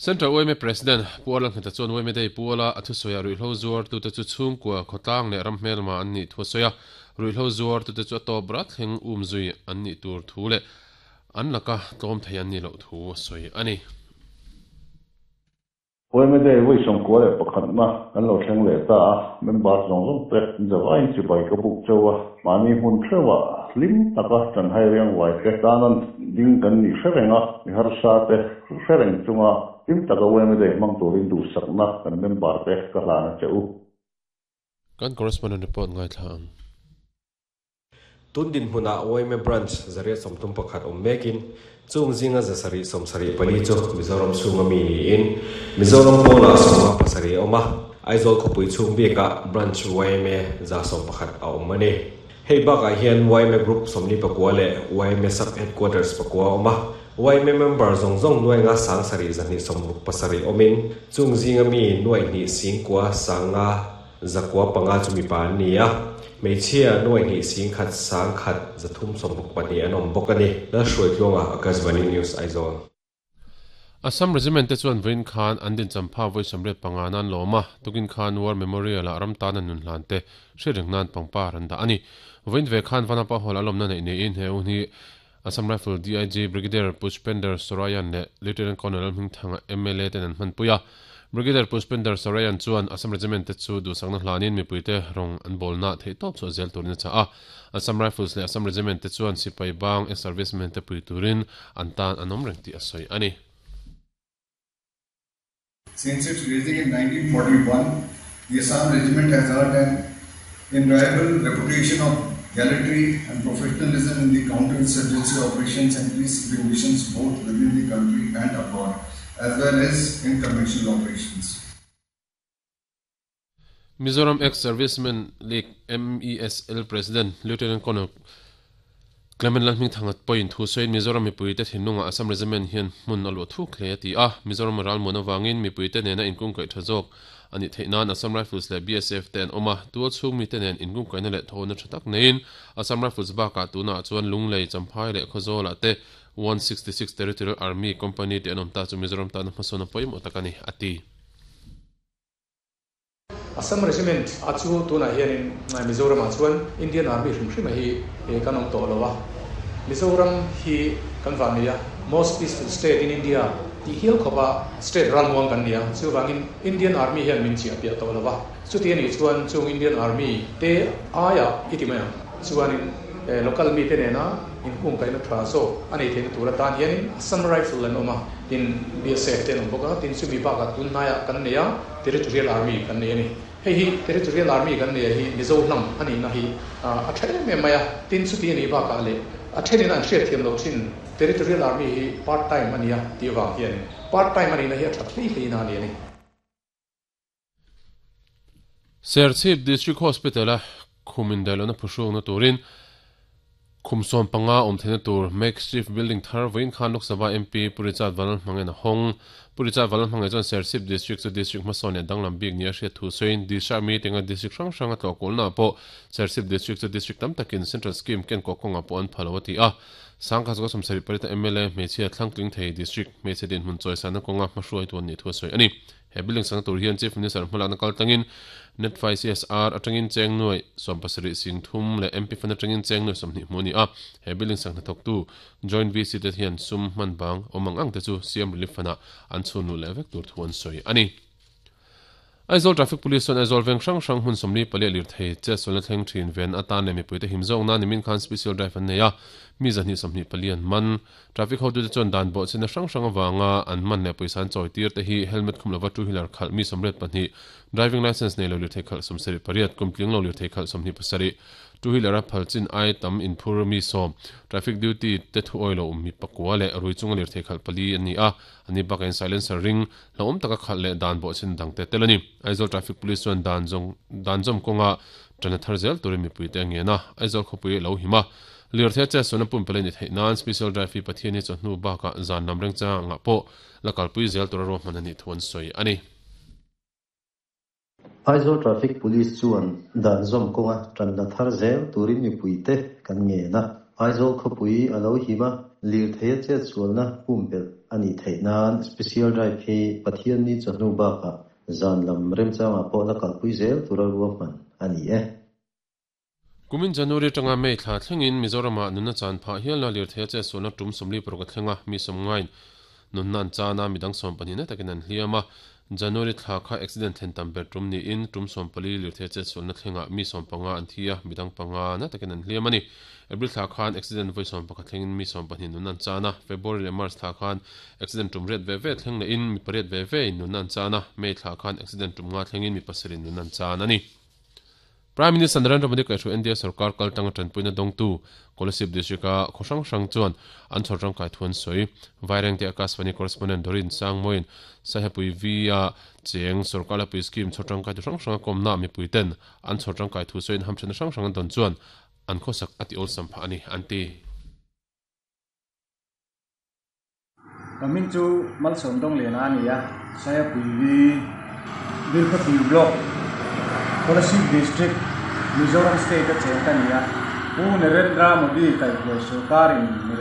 Central yma President Pu Arlalngheta chuan yma Day puala a thusawiah ruihhlo zuartute chu chhungkua, khawtlang leh ram hmelma an nih thu a sawi a. Ruihhlo zuartute chu a tawp rat thleng umzui an nih tur thu leh an laka tlawm thei an nih loh thu a sawi a ni. Yma Day vawi 91na kan lo thleng leh ta a, member zawng zawng te zavaiin chibai ka buk chauh a, mahni hmun hreuhah hlim taka chanhai riang uai te tanan ding kan nih hre reng a, mi harsa te hre reng chunga hlim taka yma Day hmang turin duhsakna kan member te ka hlan a che u. Kan correspondent report ngaithla ang. Tun dinhmunah yma Branch 131 awm mekin, chung zinga 774 chu Mizoram chhunga mi niin, Mizoram pawlah 57 a awm a, Aizawl khawpui chhung bikah Branch yma 111 a awm a ni. Hei bakah hian yma Group 49 leh yma Sub Headquarters pakua a awm a, yma member zawng zawng nuai nga sang sarih 267 awmin, chung zinga mi nuai hnih singkua sanga 905 chu mipa an ni a, hmeichhia nuai hnih 10 sang khat 362 an awm bawk a ni. Lalhruaitluanga, Akashvani News, Aizawl. Assam Regiment te chuan vawiin khan an dincham pha vawi 85 nan lawm a, tukin khan War Memorial ah ram tan an nun hlan te hriat reng nan pangpar an dah a ni. Vawiin ve khan Vanapa Hall a lawmna neih niin he hun hi Assam Rifle DIG Brigadier Pushpender Sorayan leh Lieutenant Colonel Hmingthanga mla ten an hmanpui a. Brigadier Pushpender Sorayan chuan Assam Regiment te chu duhsakna hlanin mipuite rawng an bawlna theihtawp chhuah zel turin a chah a. Assam Rifles leh Assam Regiment te chuan sipai bang ex-servicemen te pui turin an tan an awm reng tih a sawi a ni. Since its raising in 1941, the Assam Regiment has earned an enviable reputation of gallantry and professionalism in the counter-insurgency operations and peacekeeping missions both within the country and abroad, as well as in conventional operations. Mizoram Ex-Servicemen League, MESL, President Lieutenant Colonel Clement Lalhmingthanga pawhin thu sawiin Mizoram mipuite thinlungah Assam Regiment hian hmun a luah thuk hle a ti a. Mizoram ralmuan avangin mipuite nena inkungkaih tha zawk a nih theih nan Assam Rifles leh BSF te an awm a, tual chhung mite nen inkungkaihna leh thawhna tha tak neiin Assam Rifles bakah tunah chuan Lunglei, Champhai leh Khawzawlah te 166 Territorial Army Company te an awm ta chu Mizoram tana hmasawn a pawimawh tak a ni, a ti. Assam Regiment a chu tunah hianin Mizoramah chuan Indian Army hrim hrima hi kan awm tawh lo a. Mizoram hi kan vah nei a, most peaceful state in India tih hial khawpa state ralmuang kan ni a, chuvangin Indian Army hian min chiah piah tawh lo va. Chuti a nih chuan chung Indian Army te aia i ti mai ang chuanin local mite nena inkungkaihna tha zawk a nei theihna tur atan hianin Assam Rifle an awm a, tin BSF te an awm bawk a, tin chumi bakah tunhnaiah kan nei a. Territorial Army kan nei a ni. Hei hi Territorial Army kan nei a hi Mizo hnam a nihna hi a tha em em mai a, tin chuti a nih bakah leh a thenin an hriatthiam loh thin Territorial Army hi part time a nia tih avang hianin part time a nihna hi a that hlei hlei na a ni a ni. Serchhip District Hospital-a khum indaihlohna phuhrukna turin Khum 15 awm theihna tur makeshift building thar vawiin khan Lok Sabha MP Pu Richard Vanlalhmangain a hawng. Pu Richard Vanlalhmangaih chuan Serchhip District chu District hmasawn leh danglam bik nia hriat thu sawiin Disha meeting a District hrang hrang a tlawh kulnaah pawh Serchhip District chu District tam takin Central Scheme ken kawh kawngah pawh an pha lo a ti a. Sangkhat zawka 78 a mla hmeichhia thlangtling thei District hmeichhe dinhmun chawisana kawnga hmahruaitu an nih thu a sawi a ni. He building sakna tur hian Chief Minister hmalakna kal tlangin Netfai CSR atangin cheng nuai 70 sing thum leh MP Fund atangin cheng nuai 20 hmuh a ni a. He building sak hnathawktu Joint VC te hian sum hman bang awm ang ang te chu CM Relief Fund-ah an chhun luh leh vek tur thu an sawi a ni. Aizawl Traffic Police chuan Aizawl veng hrang hrang hmun 44 a lirthei chetsualna thleng thin ven atan leh mipuite him zawk nan nimin khan Special Drive an nei a, mi 224 an man. Traffic hotute chuan dan bawhchhiatna hrang hrang avanga an man leh pawisa an chawi tir te hi helmet khum lova two wheeler khalh mi 82, driving licence nei lo lirthei khalh 78, kum tling lo lirthei khalh 27, two wheeler a phal chin ai tam inphur mi 10, traffic duty te thu awi lo mi pakua leh rui chunga lirthei khalh pali an ni a, ani bakain silencer ring hlauhawm taka khalh leh dan bawhchhiatna dangte tel a ni. Aizawl Traffic Police chuan dan zawng dan zawm kawnga ṭana thar zel turin mipuite a ngen a, Aizawl khawpui a lo him a. Lirthei a chetsualna pumpelh a ni theih nan Special Drive hi Pathian hi chawhnu bakah zan lam rengchangah pawh la kalpui zel tura ruahman a nih thu an sawi a ni. Aizawl Traffic Police chuan dan zawm kawnga ṭanla thar zel turin mipuite kan ngen a, Aizawl khawpui a lo him a, lirthei a chetsualna pumpelh a nih theih. theih nan Special Drive hi Pathianni chawhnu bakah zan lam remchangah pawh la kalpui zel tura ruahman a ni e. Kumin January atanga May thla thlengin Mizoramah nunna chan phah hialna lirthei a chetsualna tum 46 a thleng a, mi sawmngain nunna an chan a, midang 12 na takin an hliam a. January thla kha accident thlen tam ber tum niin tum 14 lirthei a chetsualna thlengah mi 15 an thi a, midang panga na takin an hliam a ni. April thla khan accident vawi 11 thlengin mi 12 nunna an chan a, February leh March thla khan accident tum riat ve ve thleng lehin mi pariat ve ve in nunna an chan a, May thla khan accident tum nga thlengin mi pasarih nunna an chan a ni. Prime Minister Narendra Modi kaihhruai India sorkar kal tanga tanpuina dawngtu Kolasib District-a khaw hrang hrang chuan an chhawr tangkai thu an sawi. Vairengte Akashvani Correspondent Dorin Sangmawiin Saihapui V-a cheng sorkar lapui scheme chhawr tangkai tu hrang hranga kawmna mipuiten an chhawr tangkai thu sawiin hamthenna hrang hrang an dawn chuan an khawsak a ti awlsam phah a ni, an ti. Ka hming chu Malsawm Dawngliana a ni a, Saiapui V, Bilkhawthlir Block, Kolasib District, Mizoram State a cheng ka ni a. Pu Narendra Modi kaihhruai sorkarin.